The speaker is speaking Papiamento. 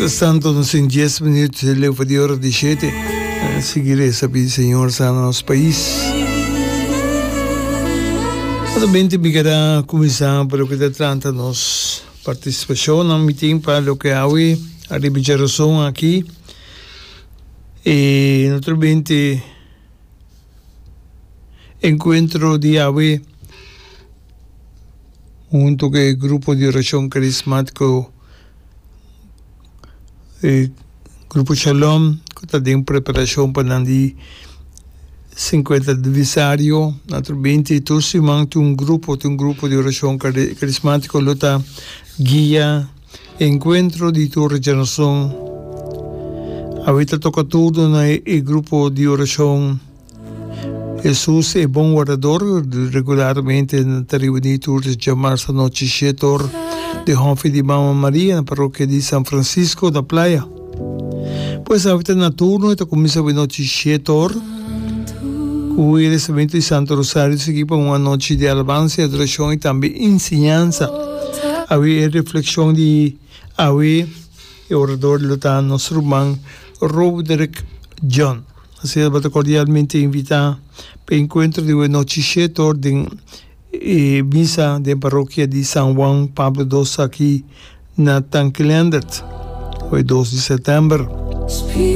Mientras tanto nos tin dies minuut leu pa di ora di shete. Sigui reza pidi Señor sana nos pais. Solamente mi keda cuminsa pa loke ta trata nos participacionnan. Mi tin pa loke awe ariba djarason aki y naturalmente encuentro di awe hunto cu e grupo di oracion carismatico. E Grupo Shalom ku ta den preparashon pa nan di sinkuenta aniversario. Naturalmente tur siman tin un grupo, tin un grupo di orashon karismátiko lo ta guia e enkuentro di tur djanason. Awe ta toka turno na e grupo di orashon. Hesus e bon wardador regularmente nan ta reuní tur djamarsa anochi shetor den hòfi di Mama Maria na parokia di San Francisco na Playa. Pues awe ta na turno e ta kuminsá awe nochi shetor ku e rezamentu di Santo Rosario sigui pa un anochi di alabansa i adorashon i tambe enseñansa. Awe e reflekshon di awe e orador lo ta nos ruman Roderick John. Asina bo ta cordialmente invita pa e encuentro di wenochi shetor den e misa den parokia di San Juan Pablo dos aki na Tanki Leendert, hoy dos di september.